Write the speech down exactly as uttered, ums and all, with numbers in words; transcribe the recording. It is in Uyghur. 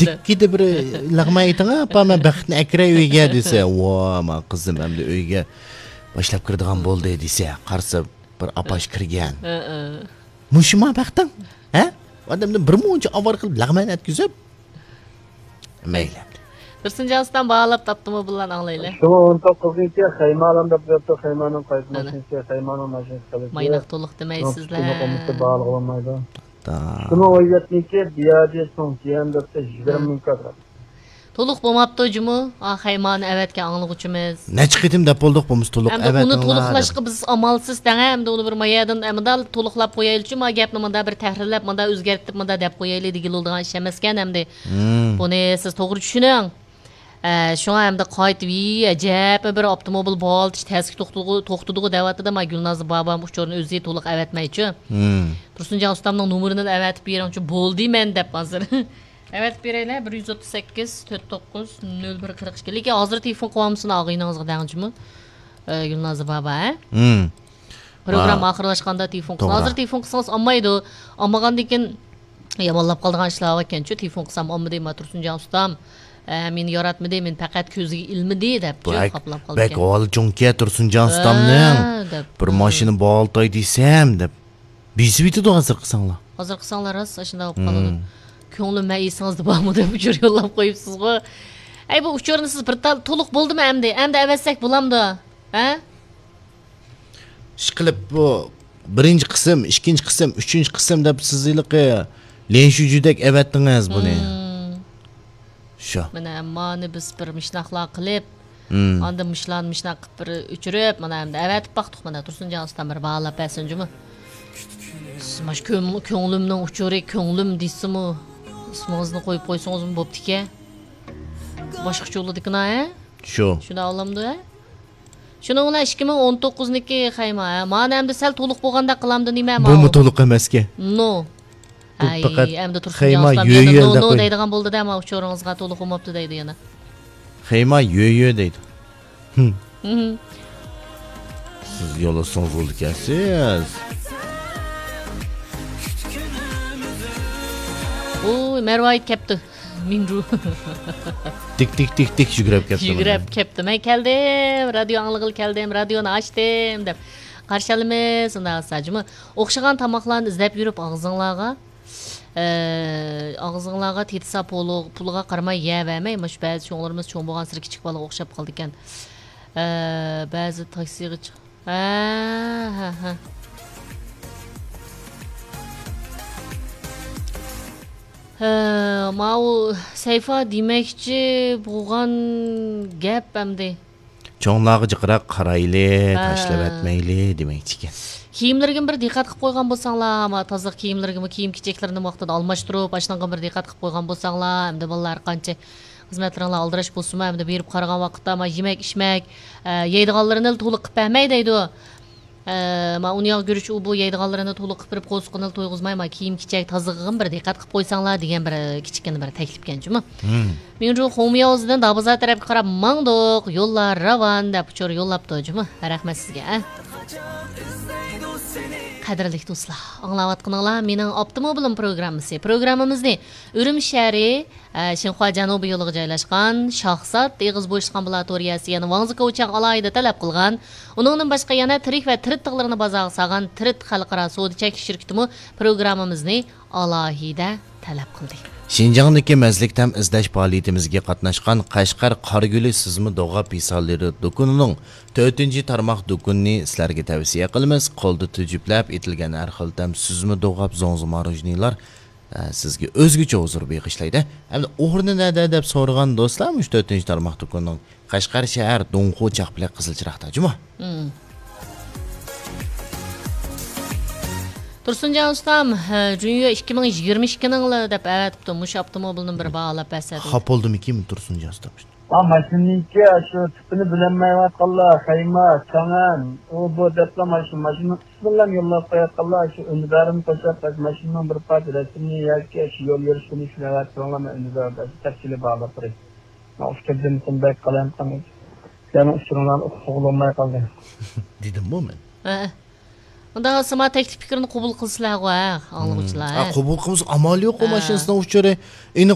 دىككىدە بىر لەغمەن ئېيتىڭ، «ئاپا، مەن بەختنى ئەكىرەي ئۆيگە» دېسە، «ۋا، ما قىزىم ئەمدى ئۆيگە باشلاپ كىرىدىغان بولدى» دېسە، قارىسا بىر ئاپاش كىرگەن. ھە، ھە. مۇشۇما بەختىڭ؟ ھە؟ ئادەمدىن بىر مۇنچە ئاۋارە قىلىپ لەغمەن ئەتكۈزۈپ. مەيلى. تۇرسۇنجان ئۇستام باھالاپ تاپتىمۇ بۇلارنى ئاڭلايلى. شۇڭا ئون توققۇزنىڭكى خەيمالام دەپ بېرىپتۇ، خەيمانىڭ قايسى ماشىنىسى، خەيمانىڭ ماشىنىسى قىلىپ. مايناق تولۇق دېمەيسىزلەر. شۇنى قومۇستا باھالىغىلى بولمايدۇ. شۇنىڭ ئون يەتتىنىڭكى بيادى سوڭ تيەن دەپتۇ، يىگىرمە مىڭ كادرات. تولۇق بولماپتۇ جۇمۇ، ئا، خەيمانى ئەۋەتكەن ئاڭلىغۇچىمىز. نەچچە قېتىم دەپ بولدۇق، بولمىسا تولۇق ئەۋەتىڭلار دەپ. ئەمدى ئۇنى تولۇقلاشقا بىز ئامالسىز دەڭە، ئەمدى ئۇنى بىر مايەدىن، ئە، مۇنداق تولۇقلاپ قويايلىچۇ، ما گەپنى مۇنداق بىر تەھرىرلەپ، مۇنداق ئۆزگەرتىپ، مۇنداق دەپ قويايلى دېگىلى بولىدىغان ئىش ئەمەسكەن ئەمدى. بۇنى سىز توغرا چۈشىنىڭ. ئە، شۇڭا ئەمدى قايتىپ، ئەجەبمۇ بىر ئاپتوموبىل بوغالتىش تەسكە توختىدىغۇ، توختىدىغۇ دەۋاتىدۇ، ما گۈلنازا بابام ئۇچۇرنى ئۆزى تولۇق ئەۋەتمەيچۇ. تۇرسۇنجان ئۇستامنىڭ نومۇرىنى ئەۋەتىپ بېرىڭچۇ، بولدى مەن دەپ ھازىر. ئەۋەتىپ بېرەيلى، بىر يۈز ئوتتۇز سەككىز، تۆت توققۇز، نۆل بىر، قىرىق ئىككى. لېكىن ھازىر تېلېفون قىلىۋالمىسۇن ئاغىنىڭىزغا دەڭچىمۇ، ئە، گۈلنازا بابا، ھە؟ پروگرامما ئاخىرلاشقاندا تېلېفون قىلسا. توغرا. ھازىر تېلېفون قىلسىڭىز ئالمايدۇ. ئالمىغاندىن كېيىن يامانلاپ قالىدىغان ئىشلار باركەنچۇ، تېلېفون قىلسام ئالمىدى، ما تۇرسۇنجان ئۇستام، ئە، مېنى ياراتمىدى، مېنى پەقەت كۆزىگە ئىلمىدى دەپ بۇ خاپىلاپ قالىدىكەن. بەك ئەھۋالى چوڭكەن تۇرسۇنجان ئۇستامنىڭ. ھە، دەپ. بىر ماشىنا بوغالتاي دېسەم دەپ. بېسىۋېتىدۇ ھازىر قىلساڭلار. ھازىر قىلساڭلار راست ئاشۇنداق بولۇپ قالىدۇ. كۆڭلۈم مەن ئېسىڭىزدە بارمۇ دەپ ئۇچۇر يوللاپ قويۇپسىزغۇ. ئەي، بۇ ئۇچۇرنى سىز بىر تال تولۇق بولدىمۇ ئەمدى؟ ئەمدى ئەۋەتسەك بولامدۇ؟ ھە؟ ئىشقىلىپ بۇ بىرىنچى قىسىم، ئىككىنچى قىسىم، ئۈچىنچى قىسىم دەپ سىز ھېلىقى ليەنشۇجۈدەك ئەۋەتتىڭىز بۇنى. شۇ. مانا مانى بىز بىر مىشناقلار قىلىپ، ئاندىن مۇشۇلارنى مۇشۇنداق قىلىپ بىر ئۆچۈرۈپ، مانا ئەمدى ئەۋەتىپ باقتۇق. مانا تۇرسۇنجان ئۇستام بىر باھالاپ بەرسۇن جۇمۇ. سىز مانا كۆڭ-، كۆڭلۈمنىڭ ئۇچۇرى، كۆڭلۈم دېسىمۇ، ئىسمىڭىزنى قويۇپ قويسىڭىزمۇ بوپتىكەن. باشقىچە بولىدىكىنا، ھە؟ شۇ. شۇنداق ئالامدۇ، ھە؟ شۇنىڭ بىلەن ئىككى مىڭ ئون توققۇزنىڭكى خەيما، ھە؟ مانا ئەمدى سەل تولۇق بولغاندەك قىلامدۇ نېمە؟ بۇمۇ تولۇق ئەمەسكەن. نو. بۇ ئەي، پەقەت ئەمدى تۇرسۇنجان خەيما ئۇستام يۆ يەنە يۆ نو، نو دەيدىغان بولدى-دە، ما ئۇچۇرىڭىزغا تولۇق بولماپتۇ دەيدۇ يەنە. خەيما يۆ يۆ دەيدۇ. ھىم. ھىم. سىز يوللىسىڭىز بولىدىكەنسىز. ئۇي، مەرۋايىت كەپتۇ. مىنرۇ. تىك، تىك، تىك، تىك يۈگۈرۈپ كەپتۇ. يۈگۈرۈپ كەپتۇ. مەن كەلدىم، رادىيو ئاڭلىغىلى كەلدىم، رادىيونى ئاچتىم دەپ. قارشى ئالىمىز، ئۇنداق بولسا جۇمۇ. ئوخشىغان تاماقلارنى ئىزدەپ يۈرۈپ ئاغزىڭلارغا، ئە، ئاغزىڭلارغا تېتىسا پۇلىغا قارىماي يەۋەرمەي، مۇشۇ بەزى چوڭلىرىمىز چوڭ بولغانسېرى كىچىك بالىغا ئوخشاپ قالىدىكەن. ئە، بەزى تاكسىغا چىق-، ھە، ھە، ھە. ھە، ماۋۇ سەيفا دېمەكچى بولغان گەپ ئەمدى. چوڭلارغا جىقراق قارايلى، ھە. تاشلىۋەتمەيلى دېمەكچىكەن. كىيىملىرىگىمۇ بىر دىققەت قىلىپ قويغان بولساڭلار، ما تازىلىق كىيىملىرىگىمۇ، كىيىم-كېچەكلىرىنى ۋاقتىدا ئالماشتۇرۇپ، ئاشۇنىڭغا بىر دىققەت قىلىپ قويغان بولساڭلار، ئەمدى بالىلار قانچە خىزمەتلىرىڭلار ئالدىراش بولسىمۇ، ئەمدى بېرىپ قارىغان ۋاقىتتا، ما يېمەك-ئىچمەك، ئە، يەيدىغانلىرىنى تولۇق قىلىپ بەرمەي دەيدۇ. ئە، ما ئۇنى ياغ گۈرۈچ ئۇ بۇ يەيدىغانلىرىنى تولۇق قىلىپ بېرىپ، قورسىقىنى تويغۇزماي، ما كىيىم-كېچەك تازىلىقىغىمۇ بىر دىققەت قىلىپ قويساڭلار دېگەن بىر كىچىككىنە بىر تەكلىپكەن جۇمۇ. مىڭجۇ خۇڭمياۋزىدىن دابازار تەرەپكە قاراپ ماڭدۇق، يوللار راۋان دەپ ئۇچۇر يوللاپتۇ جۇمۇ. رەھمەت سىزگە، ھە. قەدىرلىك دوستلار، ئاڭلاۋاتقىنىڭلار مېنىڭ ئاپتوموبىلىم پروگراممىسى. پروگراممىمىزنى ئۈرۈمچى شەھىرى، ئە، شىنخۇا جەنۇبىي يولىغا جايلاشقان شاھزات ئېغىز بوشلۇق ئامبۇلاتورىيەسى، يەنى ۋاڭزى كوچياڭ ئالاھىدە تەلەپ قىلغان. ئۇنىڭدىن باشقا يەنە تىرىك ۋە تىرىت تىغلىرىنى بازارغا سالغان تىرىت خەلقئارا سودا چەكلىك شىركىتىمۇ پروگراممىمىزنى ئالاھىدە تەلەپ قىلدى. شىنجاڭدىكى مەززىلىك تەم ئىزدەش پائالىيىتىمىزگە قاتناشقان قەشقەر قارىگۈلى سۈزمە دوغاپ پىسانلىرى دۇكىنىنىڭ تۆتىنچى تارماق دۇكىنىنى سىلەرگە تەۋسىيە قىلىمىز. قولدا تۈجۈپلەپ ئېتىلگەن ھەر خىل تەم سۈزمە دوغاپ، زوڭزا مارۇژنىلار، ئە، سىزگە ئۆزگىچە ھۇزۇر بېغىشلايدۇ. ئەمدى ئورنى نەدە دەپ سورىغان دوستلار، مۇشۇ تۆتىنچى تارماق دۇكىنىنىڭ قەشقەر شەھەر دۇڭخۇ چاقپىلى قىزىل چىراغدا جۇمۇ. مم. تۇرسۇنجان ئۇستام، ھە، جۇنيو ئىككى مىڭ يىگىرمە ئىككىنىڭلا دەپ ئەۋەتىپتۇ. مۇشۇ ئاپتوموبىلنى بىر باھالاپ بەرسە دېدى. خاپا بولدىمىكىن تۇرسۇنجان ئۇستام؟ ھا، ماشىنىنىڭكى شۇ تىپىنى بىلەلمەيۋاتقانلار، خەيما، چاڭەن، ئۇ بۇ دەپلا ماشىنا، ماشىنىنىڭ ئىسمىنىلا يوللاپ قويۇۋاتقانلار، شۇ ئۈندىدارىنى قوشۇپ، ماشىنىنىڭ بىر پارچە رەسىمىنى ياكى شۇ يول يۈرۈش كۈنى شۇنى ئەۋەتىپ بېرىڭلار، مەن ئۈندىدار بەرسە تەپسىلىي باھالاپ بېرەي. مەن ئۇچۇر دېمىسەم بەك قالايمىقان ئىدى. سىلەرنىڭ ئۇچۇرۇڭلارنى ئۇققىلى بولماي قالدى. دېدىممۇ مەن؟ ھە. ئۇنداق سىما تەكلىپ پىكىرنى قوبۇل قىلسىلا غۇ، ھە، ئاڭلىغۇچىلار، ھە. قوبۇل قىلمىسا ئامال يوق، ئۇ ماشىنىسىنىڭ ئۇچۇرى. ئېنىق